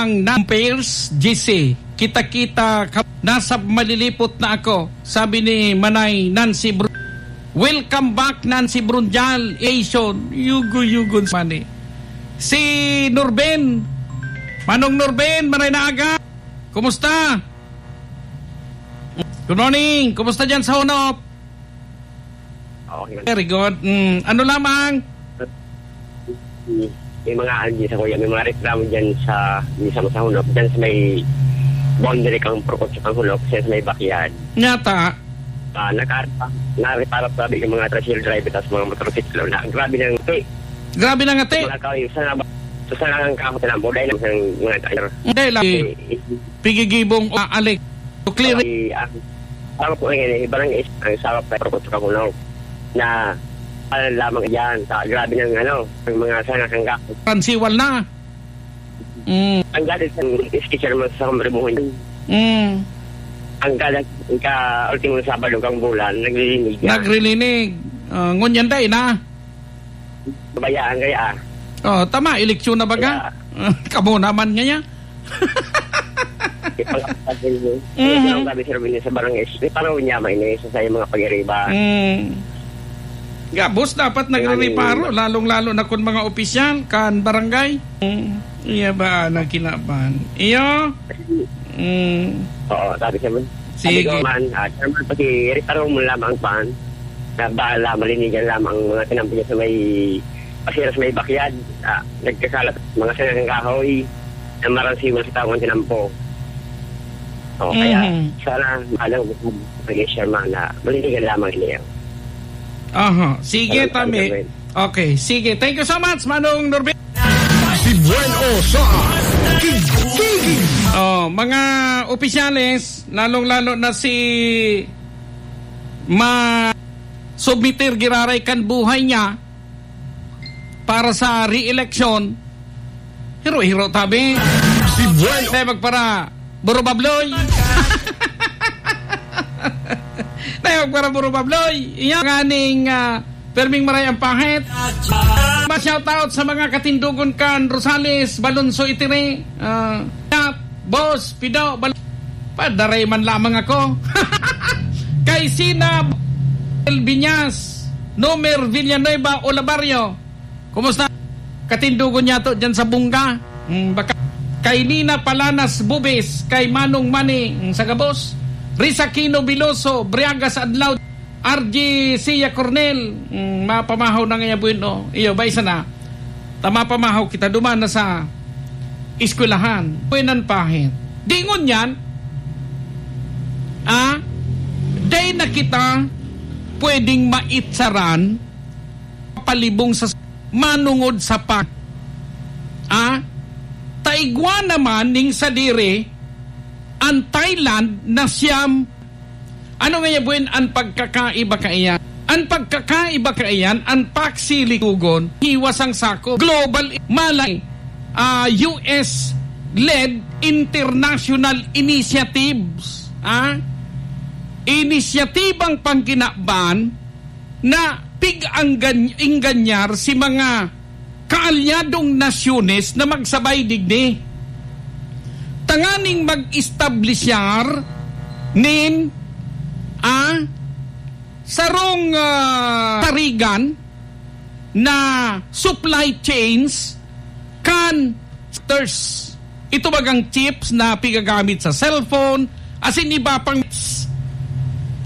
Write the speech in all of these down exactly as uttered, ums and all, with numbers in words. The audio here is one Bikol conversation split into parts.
Nan Pairs, G C, kita-kita ka, nasa malilipot na ako, sabi ni Manay Nancy Bru-, "Welcome back, Nancy Brunjal, Asian, yugo-yugon sa mani." Si Norben, Manong Norben, maray na aga, kumusta? Good morning, kumusta dyan sa Honop? Okay. Very good. Mm, ano lamang? May mga ano dyan sa kuya, may mga reklamo dyan sa, dyan sa, sa Honop, dyan sa may boundary kang Purkot sa kang Honop, sa may backyard. Nyata? Ah, naka-, narepara pa yung mga tricycle driver tas mga motorsiklo na grabe ng ngati. Grabe ng ngati? Mga kahoy, sa nga ba, sa nga ang kahoy na, buday ng mga driver. Hindi lang. Eh, eh, Pigigibong, ah, alik. To clear. Okay, ah, ako po ngayon, eh, barangay is-, ang sarap na ako sa Kahunaw na, ah, lamang yan, sa grabe ng, ano, ang mga sanga kang gapos. Pansiwal na. Mm. Ang galit sa sketcher mo sa Kamrimuhon. Mm. Ang galit ka, ultimo Sabado kang bulan, naglilinig yan. Naglilinig. Ah, ngunyan dai na. Bayaan kaya, ah. Oh, tama, eleksyon na baga. Kaya kamo naman ngaya. Ipag-, Mhm. Ang sabi, Sir Vinny, sa barangay, eh, parang niya, may iniisa sa mga pag-iriba. Mm. Gabos dapat Kaya nagrereparo, ni- lalong-lalo na kung mga opisyal, kan barangay. Mm. Iya ba, nagkinaban? Iyo? Mm. Oo, sabi siya man. Sabi Sige. ko man, ah, siya man, paki-reparo mo lamang pan. Na bala, malinigan lamang mga tinampo niya sa may, pasira sa may bakyad. Ah, nagkakalat mga sangang kahoy na maransiwan sa taong tinampo. O, kaya Mhm. sana, ano, mag-, mag-, siya man na malinigan lamang niya. Aha. Sige, Salamat, Tami. Sir Ben. Okay, sige. Thank you so much, Manong Norbin. Si Bueno sa Tigtigin. Oh, mga opisyales, lalong-lalo na si ma-, submitir giraray kan buhay niya para sa re-election, hiro-hiro tabi. Si Bueno. Tayo magpara Burubabloy. Tayo magpara Burubabloy. Iyan nga ning, ah, Perming maray ang pahit. Ma-shoutout sa mga katindogon kan Rosales, Balonso, Itire. Ah, Boss, Pido, Bal-, padaray man lamang ako. Kay Sina, Elviñas, Nomer Villanueva, Olabario. Kumusta? Katindogon niya to dyan sa Bunga. Mm, baka kay Nina Palanas Bubis, kay Manong Mani, mm, sa gabos. Risa Aquino Biloso, Briagas Adlaw. R G Sia Cornel, mm, mapamahaw na ngaya, bueno. Iyo, ba, isa na. Ta mapamahaw kita, duman na sa eskwelahan. Buenan pahit. Di ngunyan, ah, dai na kita pwedeng maitsaran, palibong sa manungod sa pa-, ah, ta igwa naman ning sadiri, ang Thailand na siyam. Ano nga yabuin an pagkakaiba kaiyan? An pagkakaiba kaiyan, an paksi likogon, hiwas ang sako. Global, malay, ah, U S-led international initiatives, ah? Inisyatibang pangkinaban na pig-anggan-, ingganyar si mga kaalyadong nasyones na magsabay digdi. Tanganing mag-establishar nin, ah, sarong, ah, tarigan na supply chains kan ters. Ito bagang chips na pigagamit sa cellphone, asin iba pang,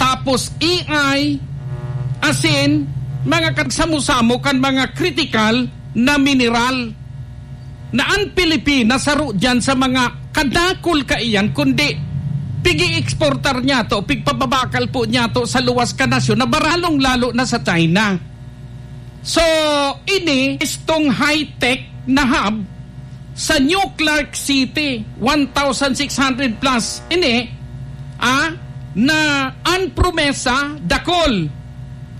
tapos A I, asin mga kagsamo-samo kan mga kritikal na mineral na an Pilipinas saro diyan sa mga kadakul kaiyan, kundi pigi-exportar niya to, pigpababakal po niya to sa luwas ka nasyon na baralong lalo na sa China. So, ini, istong high-tech na hub sa New Clark City, one thousand six hundred plus ini, ah, na an promesa, dakul,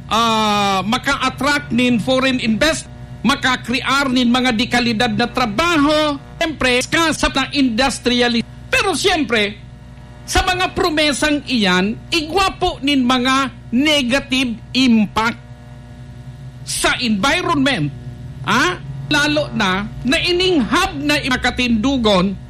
ah, maka-attract nin foreign invest, makakrear nin mga dekalidad na trabaho, siyempre, sa, sa industrialist. Pero siyempre, sa mga promesang iyan, igwa po nin mga negative impact sa environment, ah, lalo na na ining hub na i-, makatindugon,